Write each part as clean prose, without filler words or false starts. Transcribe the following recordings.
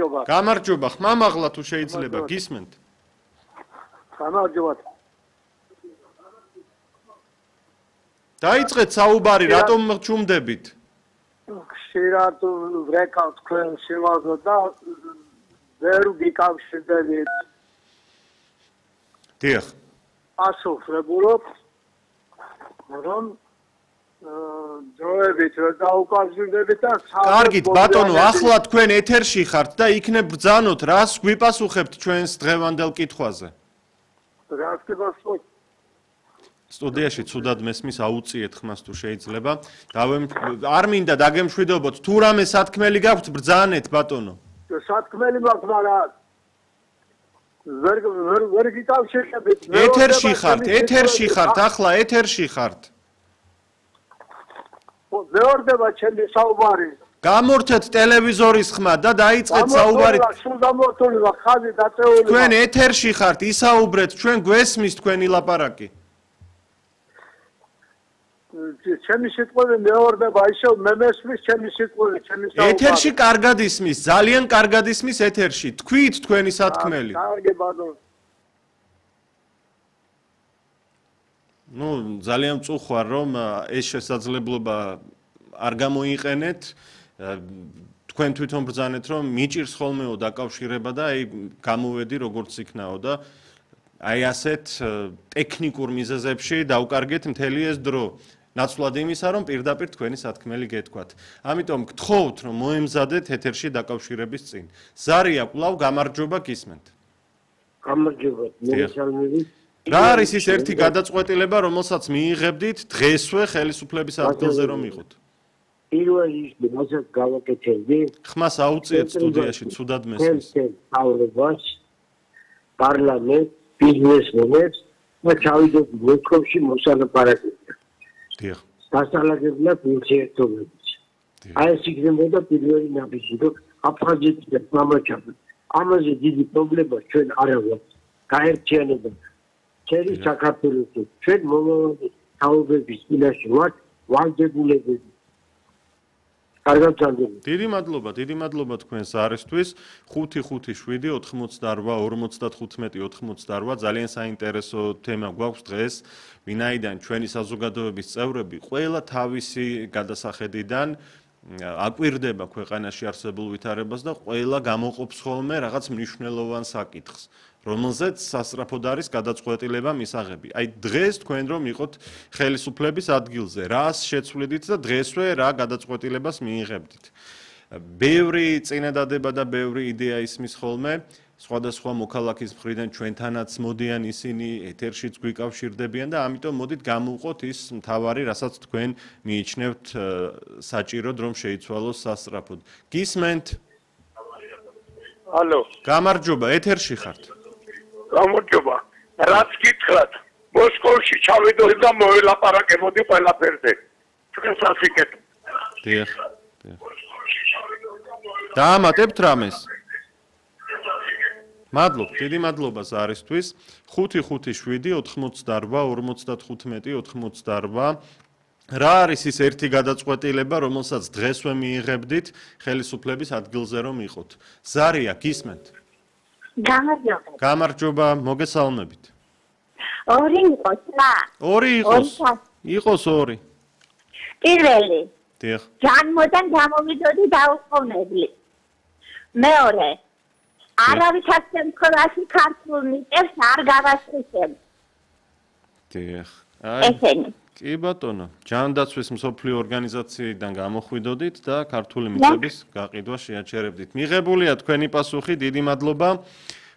გამარჯობა. გამარჯობა, ხმამაღლა თუ შეიძლება, გისმენთ. გამარჯობა. დაიწყეთ საუბარი, რატომ ჩუმდებით? ხშირად ვრეკავ თქვენ სიმაღლე და ვერ ვიკავშირდებით. დიახ. ასოფლებულობ, რომ ძოებით ვერ დაუკავშირდებით და კარგით, ბატონო, ახლა თქვენ ეთერში ხართ და იქნებ ბრძანოთ, რას გვიპასუხებთ ჩვენს დღევანდელ კითხვაზე? რას გიპასუხებთ? სტუდიაში ცუდად მესმის, აუწიეთ ხმას თუ შეიძლება. არ მინდა დაგემშვიდობოთ, თუ რამე სათქმელი გაქვთ, ბრძანეთ, ბატონო. სათქმელი მაქვს, მაგრამ ვერ გიკავშირდებით. ეთერში ხართ, ახლა ეთერში ხართ. მეორდება ჩემი საუბარი. გამორთეთ ტელევიზორის ხმა და დაიწყეთ საუბარი. სულ გამორთული ვარ, ხაზი დაწეული. თქვენ ეთერში ხართ, ისაუბრეთ, ჩვენ გვესმის თქვენი ლაპარაკი. ჩემი სიტყვები მეორდება, ისევ მე მესმის ჩემი სიტყვები, ჩემი საუბარი. ეთერში კარგად ისმის, ძალიან კარგად ისმის ეთერში. თქვით თქვენი სათქმელი. კარგი ბატონო. ნუ ძალიან მწუხვარ, რომ ეს შესაძლებლობა არ გამოიყენეთ. თქვენ თვითონ ბრძანეთ, რომ მიჭირს ხოლმეო დაკავშირება და აი გამოვედი როგორც იქნაო და აი ასეთ ტექნიკურ მიზეზებში დავკარგეთ მთელი ეს დრო. ნაცვლად იმისა, რომ პირდაპირ თქვენი სათქმელი გეთქვათ. ამიტომ გთხოვთ, რომ მოემზადეთ ეთერში დაკავშირების წინ. ზარია კვლავ გამარჯობა გისმენთ. გამარჯობა, მოგესალმებით. რა არის ის ერთი გადაწყვეტილება, რომელსაც მიიღებდით დღესვე ხელისუფლების ადგილზე რომ იყოთ? პირველი ის, რასაც გავაკეთებდი, ხმას აუწიეთ სტუდიაში, ცუდად მესმის. თავრობას, პარლამენტს, ბიზნესმენებს და ჩავიდეთ მოსკოვში მოსალაპარაკებლად. დიახ. დასალაგებლად ურთიერთობებს. აი ეს იქნებოდა პირველი ნაბიჯი, რომ აფხაზეთიდან მამაჩაბა. ამაზე დიდი პრობლემა ჩვენ არ აქვს. გაერთიანება მთელი საქართველოში. ჩვენ მომავალი თაობების წინაშე ვართ ვალდებულებები. კარგად გაგებთ. დიდი მადლობა თქვენს არისთვის. 555-88-55 ძალიან საინტერესო თემა გვაქვს დღეს, ვინაიდან ჩვენი საზოგადოების წევრები ყველა თავისი გადასახედიდან აკვირდება ქვეყანაში არსებულ ვითარებას და ყველა გამოყოფს ხოლმე რაღაც მნიშვნელოვან საკითხს, რომელზეც სასწრაფოდ არის გადაწყვეტილება მისაღები. აი დღეს თქვენ რომ იყოთ ხელისუფლების ადგილზე, რას შეცვლიდით და დღესვე რა გადაწყვეტილებას მიიღებდით. ბევრი წინადადება და ბევრი იდეა ისმის ხოლმე, სხვადასხვა მოქალაქის მხრიდან ჩვენთანაც მოდიან ისინი, ეთერშიც გვიკავშირდებიან და ამიტომ მოდით გამოვყოთ ის მთავარი, რასაც თქვენ მიიჩნევთ საჭიროდ, რომ შეიცვალოს სასწრაფოდ. გისმენთ? ალო. გამარჯობა, ეთერში ხართ. გამარჯობა. რაც გითხრათ, მოსკოვში ჩავიდოდი და მოელაპარაკებოდი ყველაფერზე. თქვენს ასიკეთ. დიახ. დაამატებთ რამეს? მადლობ, დიდი მადლობა ზარისთვის. 557-88-55. რა არის ის ერთი გადაწყვეტილება, რომელსაც დღესვე მიიღებდით ხელისუფლების ადგილზე რომ იყოთ? ზარია, გისმენთ? გამარჯობა. გამარჯობა, მოგესალმებით. ორი იყოს რა? ორი იყოს. იყოს ორი. პირველი. დიახ. ჯანმოდან გამოვიდოდი დაუყოვნებლი. მეორე. არავის შემთხვევაში ქართულ მიწებს არ გავასწრებ. დიახ. ესენი. კი ბატონო, ჯანდაცვის მსოფლიო ორგანიზაციიდან გამოხვიდოდით და ქართული მიწების გაყიდვა შეაჩერებდით. მიღებულია თქვენი პასუხი, დიდი მადლობა.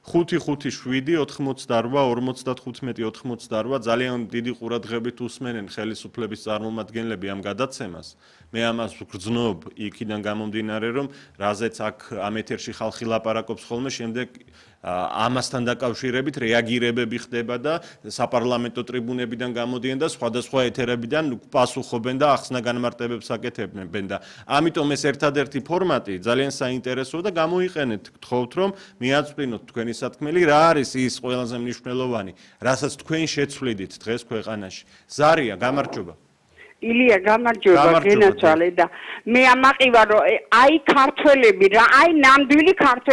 557-88-55 ძალიან დიდი ყურადღებით უსმენენ ხელისუფლების წარმომადგენლები ამ გადაცემას. მე ამას ვგრძნობ იქიდან გამომდინარე, რომ რაზეც აქ ამ ეთერში ხალხი ლაპარაკობს ხოლმე, შემდეგ ამასთან დაკავშირებით რეაგირებები ხდება და საპარლამენტო ტრიბუნებიდან გამოდიან და სხვადასხვა ეთერებიდან პასუხობენ და ახსნა განმარტებებს აკეთებენ და ამიტომ ეს ერთადერთი ფორმატი ძალიან საინტერესოა და გამოიყენეთ, გთხოვთ რომ მიაწვდინოთ თქვენი სათქმელი, რა არის ის ყველაზე მნიშვნელოვანი, რასაც თქვენ შეცვლიდით დღეს ქვეყანაში. ზარია, გამარჯობა. ილია გამარჯობა გენაცვალე და მე ამაყივა რომ აი ქართველები რა აი ნამდვილი ქართველები